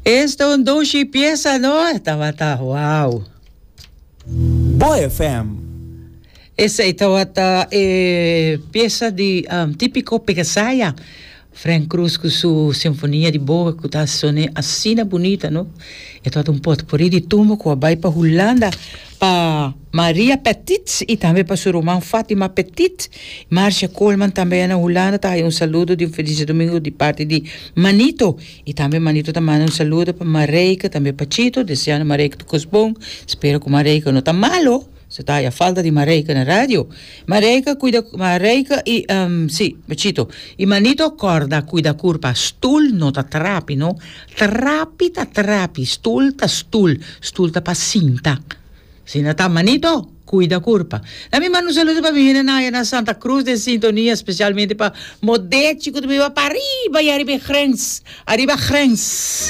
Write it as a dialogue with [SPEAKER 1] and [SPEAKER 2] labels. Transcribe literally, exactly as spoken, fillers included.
[SPEAKER 1] Esta un dushi piesa, no? Tabata, wow.
[SPEAKER 2] Bo F M.
[SPEAKER 1] Esey tabata eh, piesa di um, Tipico Pegasaya. Frank Cruz cu su sinfonia di boa cu ta sona asina bunita, no? E tabata un potpourri di tumba cu a bay pa Hulanda pa Maria Petit y tambe pa su ruman Fatima Petit. Marcia Coleman tambe na Hulanda ta un saludo di un feliz diadomingo di parti di Manito. Y tambe Manito ta manda un saludo pa Mareike, tambe pa Chito, deseando Mareike tur cos bon. Spero cu Mareike no ta malo. Bo ta falta di Mareike na radio. Mareike, cuida, Mareike y, um, si, Chito. Y Manito corda, cuida curpa. Stoel no ta trapi, no? Trapi ta trapi, stoel ta stoel, stoel ta pa sinta. Asina ta, Manito, cuida curpa. Laga mi manda un saludo pa mi na na Santa Cruz den sintonia, especialmente pa Modechi, cu ta biba pariba y ariba grens, ariba grens.